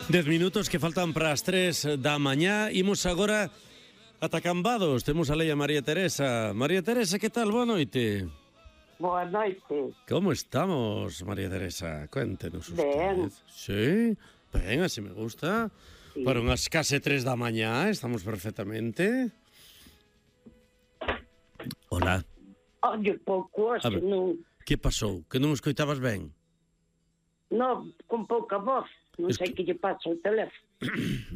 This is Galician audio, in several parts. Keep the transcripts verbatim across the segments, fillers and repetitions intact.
Dez minutos que faltan para as tres da mañá. Imos agora ata Cambados. Temos a lei a María Teresa. María Teresa, que tal? Boa noite. Boa noite. Como estamos, María Teresa? Cuéntenos usted. Ben. Sí, ben, así me gusta. Sí. Para unhas case tres da mañá, estamos perfectamente. Hola. Oye, pouco A hoxe, ver. non, Que pasou? Que non escoitabas ben? non, con pouca voz. Non Es sei que- que lle pasa ao teléfono.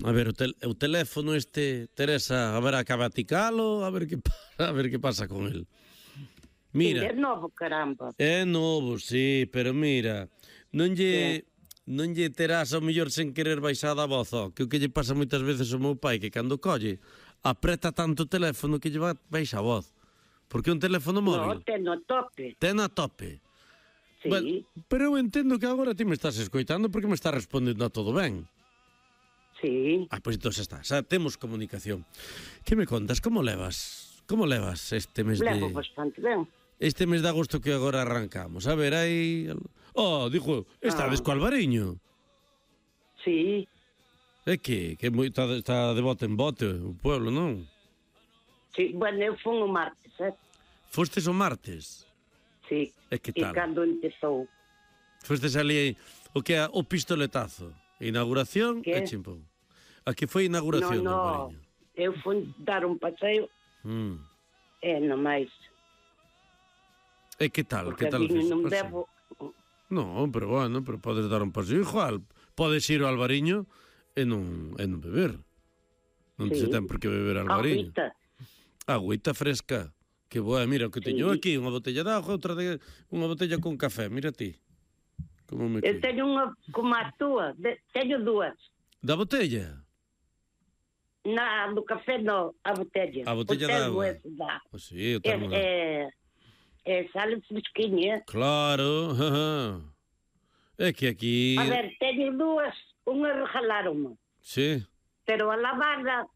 A ver, o, tel o teléfono este, Teresa, a ver, acaba de ticalo, a ver que pa- a ver que pasa con el. Mira, É novo, caramba. é novo, sí, pero mira, non lle non lle terás ao mellor sen querer baixada a voz, ó, que o que lle pasa moitas veces ao meu pai, que cando colle, apreta tanto o teléfono que lle va baixa a voz. Porque é un teléfono No, móvil. ten no tope. Ten a tope. Sí. Bueno, pero eu entendo que agora ti me estás escoitando porque me estás respondendo a todo ben. Sí. Ah, pois entón xa está, xa temos comunicación. Que me contas, como levas? Como levas este mes Levo de bastante ben. este mes de agosto que agora arrancamos? A ver, hai Oh, dixo, estades Ah. co Albariño. Sí. É que que moi está, está de bote en bote o pueblo, non? Sí. Bueno, eu fun o martes, eh? Fostes o martes. Sí. E que E tal? cando empezou. Fostes ali o que é o pistoletazo. Inauguración Que? e chimpón. Aquí foi a inauguración No, do no. Albariño. Eu fun dar un paseo Mm. e non máis. E que tal? Porque Que tal o ali fixo? non Paseo? devo... No, pero bueno, pero podes dar un paseo igual. Podes ir ao Albariño e non, e non beber. Non Sí. se ten por que beber ao Albariño. Agüita. Agüita fresca. Que boa, mira, o que teño Sí. aquí, unha botella de auga, outra de unha botella con café, mira ti. Como me Eu cuido. teño unha como a túa. De, teño dúas. Da botella? Na, do café no, a botella. A botella de termo auga. ese dá. Pois sí, eu É, termo. é, é sale fresquinha. Claro, jaja. É que aquí... A ver, teño dúas, unha regalaronme, Sí. pero a lavarla